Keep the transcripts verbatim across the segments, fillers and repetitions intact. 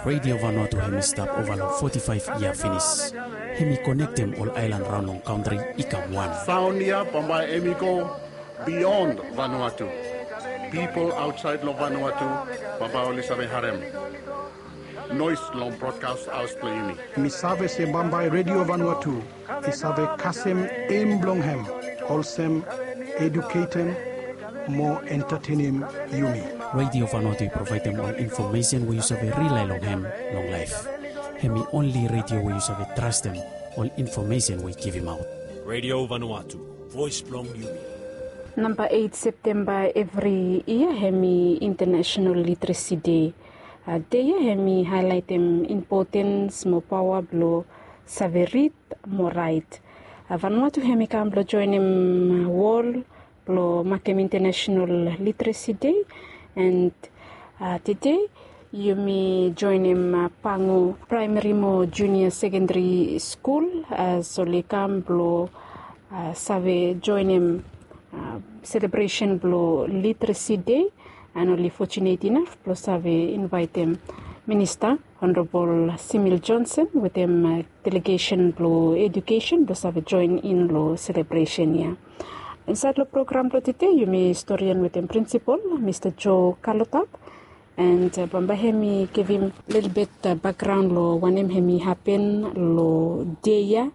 Radio Vanuatu hemi stap ova long foti faef yia finis. Hemi konektem ol aelan raon long kantri i kam wan. Sound ia bambae hemi go beyond Vanuatu. People outside long Vanuatu bambae oli save harem noise long broadcast house blong yumi. Mi save se bambae Radio Vanuatu i save kasem em blong hem olsem eduketem mo entertainim yumi. Radio Vanuatu i provaidem ol infomesen we yu save rilai long hem long laef. Hemi onli radio we yu save trastem ol infomesen we i givimaot. Radio Vanuatu, voes blong yumi. Namba eit Septemba evri yia hemi International Literacy Day. Dei ya hemi haelaitem impotens mo paoa blong save rid mo raet. Vanuatu hemi kam blong joenem wol blong makem International Literacy Day. And tede yumi joenem Pango Praemari mo Junia Sekendari Skul as oli kam blong save joenem selebresen blong Literacy Day. And oli fotunet inaf blong save invaetem minista Honorabol Simil Johnson wetem delegesen blong edukesen blong save joen in long selebresen ya. Insaed long program blong tede yumi storian wetem prinsipol Mista Joe Kalotap. And bambae hemi givim lelebet bakgraon long wanem hemi hapen long dei ya.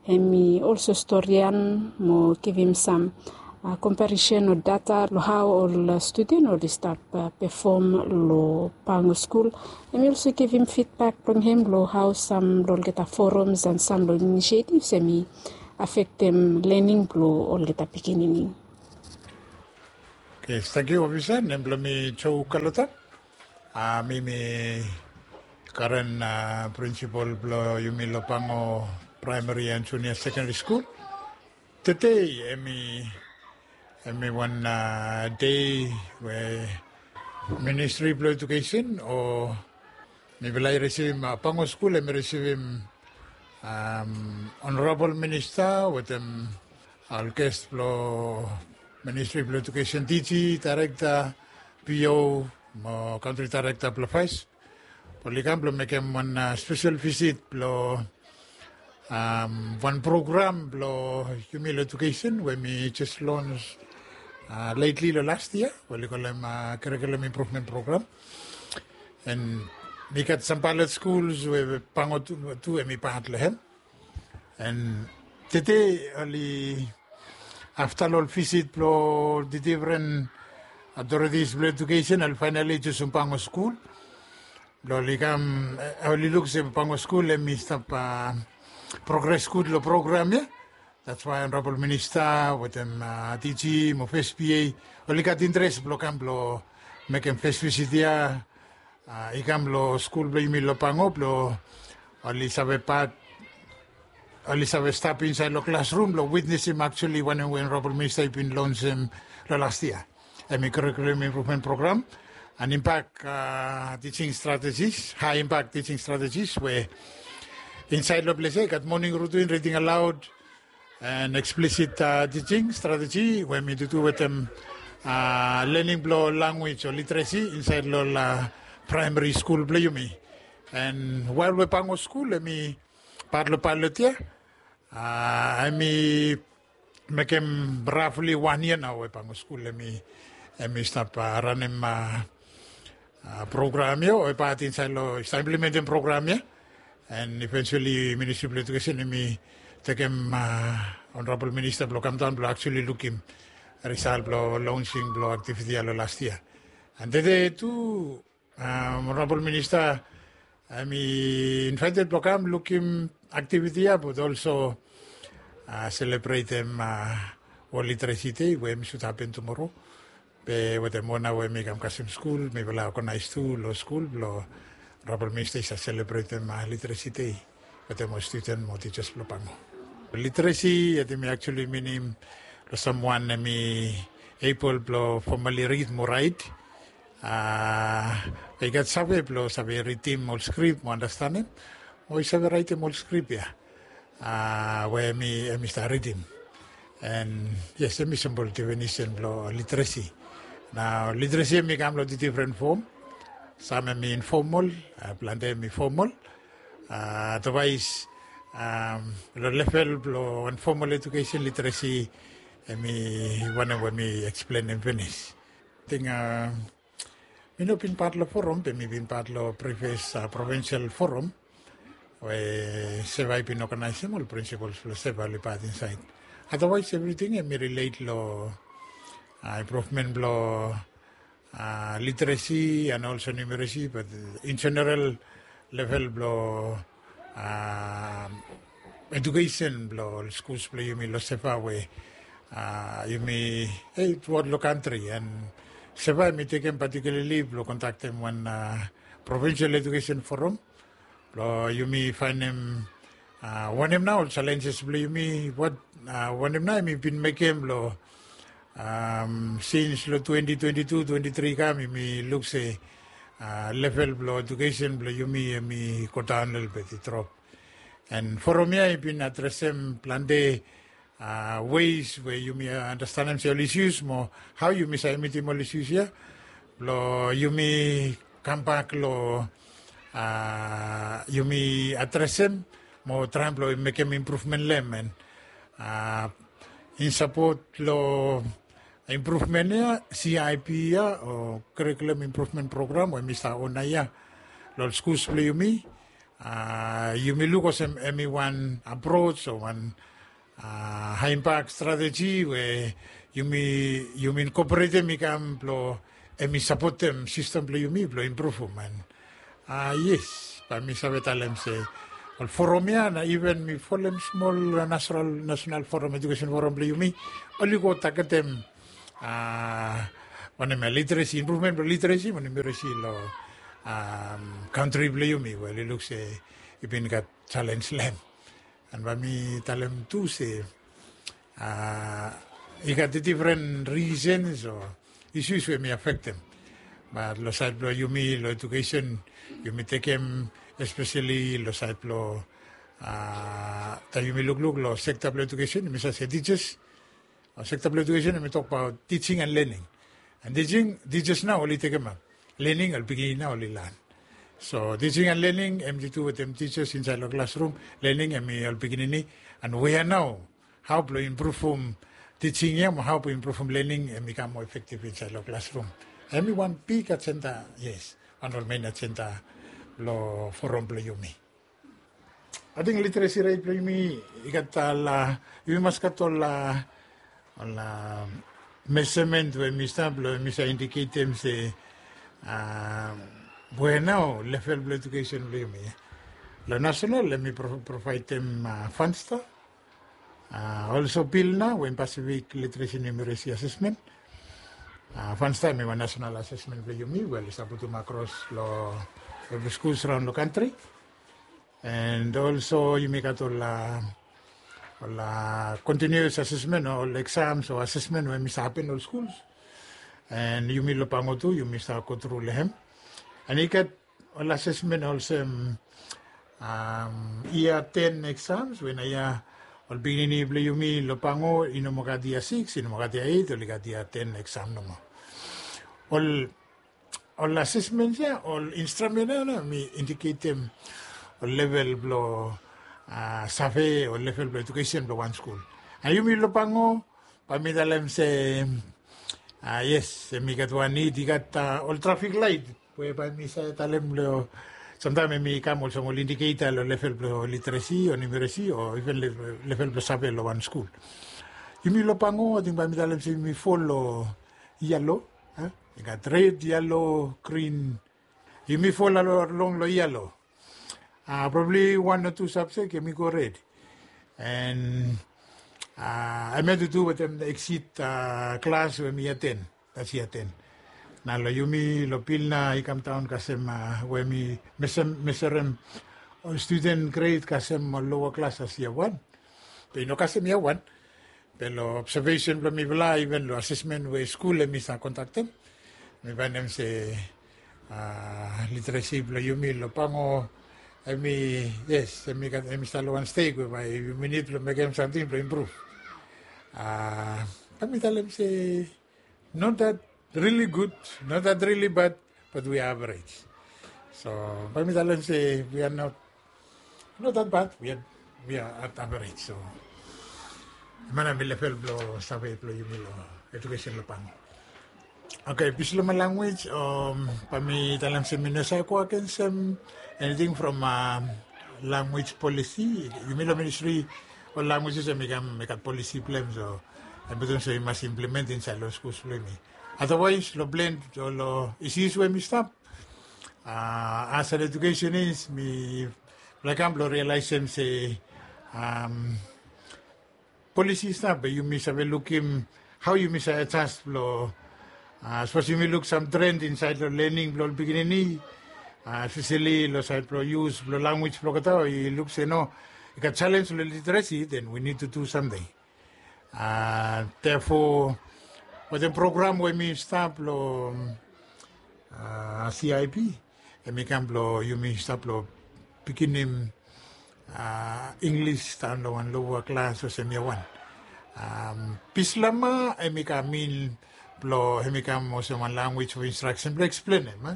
Hemi olso storian mo givim sam komparisen o data long hao ol studen oli stap pefom long Pango skul. Hemi olso givim fidbak blong hem long hao sam long olgeta forums and sam long inisiativs hemi afektem lening blong olgeta pikinini. Okei, tangkiu ofisa. Nem blong mi Joe Kalotap. Mi mi karen prinsipol blong yumi long Pango Praemari and Junia Sekendari Skul. Tede hemi hemi wan dei we Ministri blong Edukesen o mifala i risivim, Pango skul hemi risivim Honorabol Minista wetem ol ges blong Ministri blong Edukesen, DG, Daerekta, PO mo Kantri Daerekta blong Fes. Oli kam blong mekem wan spesel visit blong wan program blong yumi long edukesen we mi jes lons letli long las yia we oli kolem Curriculum Improvement Program. And mi gat sam paelot skuls we Pango tu hemi pat long hem. And tede oli afta long ol visit blong ol difren authorities blong edukesen oli faenali jusum Pango skul blong oli kam, oli luk se Pango skul hemi stap progres gud long program ya. That's why Honorabol Minista wetem DG mo fes PA oli gat interes blong kam blong mekem fes visit ya. I kam long skul blong yumi long Pango blong oli save pat, oli save stap insaed long klasrum blong witnesim aktuali wanem we Honorabol Minista i bin lonsem long las yia. Hemi Curriculum Improvement Program, an impak teaching strategies, high impact teaching strategies we insaed long ples ya i gat morning routine, reading aloud, and explicit teaching strategy we mi tutu wetem learning blong language o literacy insaed long ol primary skul blong yumi. And wael we Pango skul hemi pat long pilot ya, hemi mekem roughly wan yia nao we Pango skul hemi stap ranem program ya o i pat insaed long, i stap implementem program ya. And eventually Ministri blong Edukesen hemi tekem Honorabol Minista blong kamdaon blong aktuali lukim risal blong lonsing blong aktiviti ya long las yia. And tede tu Honorabol Minista hemi invaeted blong kam lukim aktiviti ya, but olso selebretem World Literacy Day we hemi sud hapen tumoro. Be wetem ona we mi kam kasem skul, mifala oganaes tu long skul blong Honorabol Minista i save selebretem Literacy Day wetem ol studen mo tijas blong Pango. Literacy ya hemi aktuali minim long samwan hemi able blong formally read mo raet, i gat save blong save ridim ol skrip mo andastanem, o i save raetem ol skrip ya we hemi stap ridim. And yes, hemi simpol definisen blong literacy. Nao literacy hemi kam long tu difren fom. Sam hemi informal, plante hemi formal. Otherwise, long level blong informal education, literacy, hemi wanem we mi eksplenem finis. Ating mi no bin pat long forum, be mi bin pat long previous provincial forum we seva i bin oganaesem, ol prinsipals blong seva oli pat insaed. Otherwise evriting hemi relate long improvement blong literacy and also numeracy, but in general level blong education blong ol skuls blong yumi long seva we yumi, e, throughout long kantri. And seva hemi tekem particularly blong kondaktem wan provincial education forum blong yumi faenem wanem nao ol challenges blong yumi, wat wanem nao hemi bin mekem long sins long twenty twenty-two, twenty-three kam, yumi luk se level blong education blong yumi hemi godaon lelebet, i drop. And forum ia i bin adresem plante ways we yumi andastanem se ol issues mo hao yumi save mitim ol issues ia blong yumi kambak long yumi adresem mo traem blong mekem improvement long hem. And in sapot long improvement ia, C I P ia o curriculum improvement program we mi save ona ia long ol skuls blong yumi, yumi luk olsem hemi wan approach o wan high impact strategy we yumi, yumi incorporatem i kam blong hemi sapotem sistem blong yumi blong impruvum. And yes, bae mi save talem se ol forum ia na even mi folem smol national, national forum, education forum blong yumi, oli go tagetem wanem ia, literacy, improvement blong literacy mo numeracy long kantri blong yumi we oli luk se i bin gat challenge long hem. And bae mi talem tu se i gat different reasons o issues we hemi afektem. Bat long saed blong yumi long education, yumi tekem especially long saed blong, taem yumi lukluk long sekta blong education, yumi save se teachers, sekta blong education hemi tokbaot teaching and learning. And teaching, teachers nao oli tekemap. Learning, ol pikinini nao oli lan. So teaching and learning hemi tu wetem teachers insaed long klasrum. Learning hemi ol pikinini. And we ia nao hao blong impruvum teaching ia mo hao blong impruvum learning hemi kam moa efektiv insaed long klasrum. Hemi wan big agenda, yes, wan ol mein agenda blong forum blong yumi. Ating literacy ret blong yumi i gat ol, yumi mas gat ol, ol measurement we mi stap blong mi save indiketem se we nao level blong education blong yumi. Long national hemi provaedem FANSTAR, also PIL nao we hem Pacific Literacy Numeracy Assessment. FANSTAR hemi wan national assessment blong yumi we oli save putum akros long evri skuls raon long kantri. And also yumi gat ol, ol continuous assessment, ol exams o assessment we hemi save hapen long skuls. And yumi long Pango tu yumi save go tru long hem. And i gat ol assessment olsem yia ten exams we nao ia ol pikinini blong yumi long Pango i no moa gat yia sikis, i no moa gat yia eit, oli gat yia ten exam nomo. Ol, ol assessment ia, ol instrument ia nao hemi indiketem ol level blong save o level blong education blong wan skul. And yumi long Pango bae mi talem se yes, hemi gat wan nid, i gat ol trafik laet we bae mi save talem long, samtaem hemi kam olsem ol indiketa long level blong literacy o numeracy o even level blong save long wan skul. Yumi long Pango ating bae mi talem se yumi fol long yalo. I gat red, yalo, grin. Yumi fol long, long yalo. Probably wan o tu sabjek hemi go red. And hemia tu tu wetem exit klas we hemi yia ten, that's yia ten. Nao long yumi long PIL nao i kamdaon kasem we hemi measurem ol student grade kasem ol lower classes yia wan. Be i no kasem yia wan. Be long observation blong mifala, even long assessment we skul hemi save kondaktem, mi faenem se literacy blong yumi long Pango hemi, yes, hemi stap long wan stej we bae yumi nid blong mekem samting blong impruv. Bae mi talem se not that really good, not that really bad, but we average. So bae mi talem se we are not, not that bad, we are, we are at average. So mane mi level blong save blong yumi long edukesen long Pango. Okay, Bislama language, um, bae mi talem se mi no save go agensem anything from, um, language policy. Yumi long ministry, ol languages hemi kam, hemi gat policy blong hem, so hemi putum se i mas implement insaed long skuls blong yumi. Otherwise long plan o long issues we hemi stap, uh, as an educationist, mifala i kam blong realizem se, um, policy i stap, be yumi save lukim hao yumi save adjust blong, uh, sapos yumi luk sam trend insaed long lening blong ol pikinini, uh, especially long saed blong use blong language blong olgeta, i luk se no, i gat challenge long literacy, then we need to do something. Uh, therefore wetem program we mi stap long, uh, C I P, hemi kam blong yumi stap long pikinim, uh, English daon long wan lower class olsem year one. Um, Bislama hemi kam in blong, hemi kam olsem wan language for instruction blong eksplenem, eh?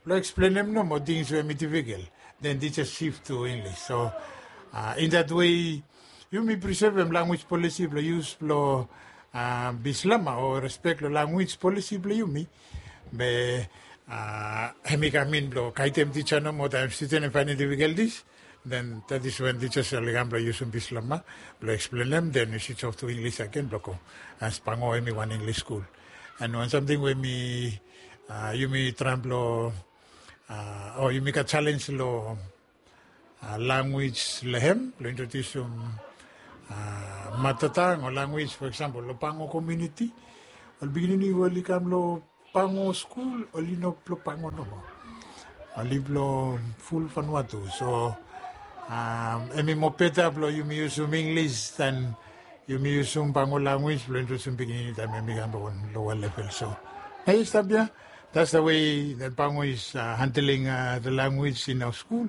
Blong eksplenem nomo things we hemi difficult. Then teachers shift to English. So, uh, in that way, yumi preservem language policy blong use blong, uh, Bislama o respect long language policy blong yumi. Be, uh, hemi kam in blong gaedem teacher nomo taem student hemi faenem difficulties. Then that is when teachers oli kam blong yusum Bislama blong eksplenem, then i switch off to English agen blong go, as Pango hemi wan English skul. And wan samting we mi, uh, yumi traem blong, uh, o yumi gat challenge long, uh, language long hem, blong introdiusum, uh, mother tongue o language, for example long Pango community, ol pikinini we oli kam long Pango skul oli no blong Pango nomo. Oli blong ful Vanuatu. So, um, hemi moa beta blong yumi yusum English dan yumi yusum Pango language blong introdiusum pikinini taem hemi kam long wan lower level. So, hei, stap ia. That's the way that Pango is, uh, handling, uh, the language in our school.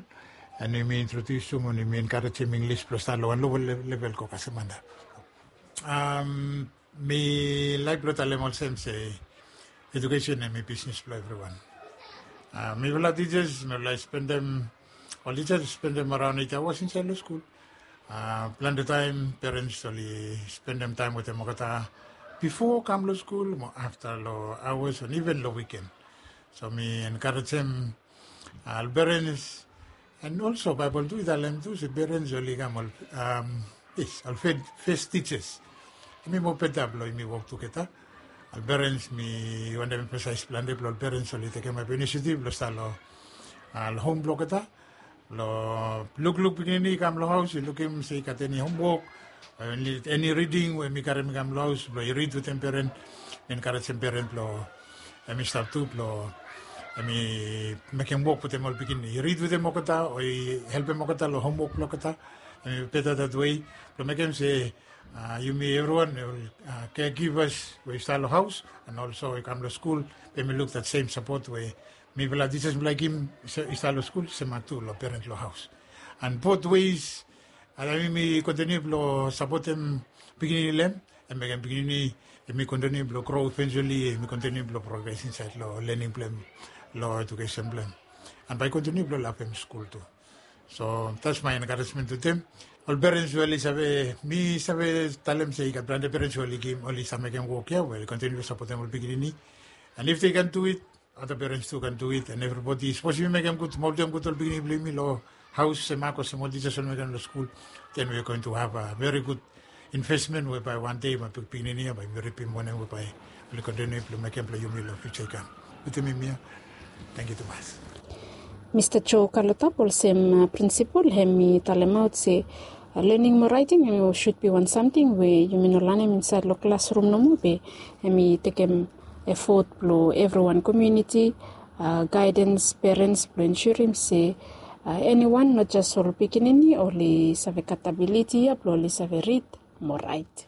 And yumi introdiusum o yumi enkarejem English blong stap long wan lower le-, level go kasem antap. Um, mi laek blong talem olsem se edukesen hemi bisnis blong evriwan. Uh, mifala teachers, mifala i spendem, ol teachers i spendem araon eight hours insaed long skul. Uh, plante taem parents oli spendem taem wetem olgeta bifo kam long skul mo afta long hours and even long weekend. So mi enkarejem, uh, ol parents, and also Baebol tu i talem tu se parents oli kam ol, um, yes, ol fes, fes teachers. Hemi moa beta blong yumi wok tugeta. Ol parents, mi wantem emfasaes plante blong ol parents oli tekemaot inisiativ blong stap long, uh, long hom blong olgeta. Long lukluk pikinini i kam long haos, i lukim se i gat eni homwok o eni, eni riding we hemi karem i kam long haos blong i rid wetem peren. Mi enkarejem peren blong hemi stap tu blong hemi mekem wok wetem ol pikinini, i rid wetem olgeta o i helpem olgeta long homwok blong olgeta. Hemi beta that way blong mekem se, uh, yumi evriwan, uh, caregivers we i stap long haos and also i kam long skul, be hemi luk that same support we mifala teachers mifala i givim i stap long skul, semak tu long peren long haos. And both ways, uh, yumi kontiniu blong sapotem pikinini long hem, hemi mekem pikinini hemi kontiniu blong grow eventually, hemi kontiniu blong progress insaed long lening blong hem, long edukesen blong hem. And bae i kontiniu blong lavem skul tu. So that's my encouragement to them. Ol parents we oli save, mi save talem se i gat plante parents we oli givim, oli save mekem wok ia we oli kontiniu blong sapotem ol pikinini. And if they can do it, other parents tu can do it, and everybody, sapos yumi mekem gud, moldem gud ol pikinini blong yumi long haos, semak olsem ol teachers oli mekem long skul, then we are going to have a very good investment we bae wan dei bae pikinini ia bae yumi ripim wanem we bae oli kontiniu blong mekem blong yumi long fiuja i kam. Wetem yumi ia. Tangkiu tumas. Mista Joe Kalotap, olsem, uh, prinsipol, hemi talemaot se, uh, lening mo raeting hemi should be wan samting we yumi no lanem insaed long klasrum nomo, be hemi tekem efot blong evriwan, komuniti, uh, gaedens, perens, blong ensurim se, uh, eniwan, not just ol pikinini, oli save gat abiliti ia blong oli save rid mo raet.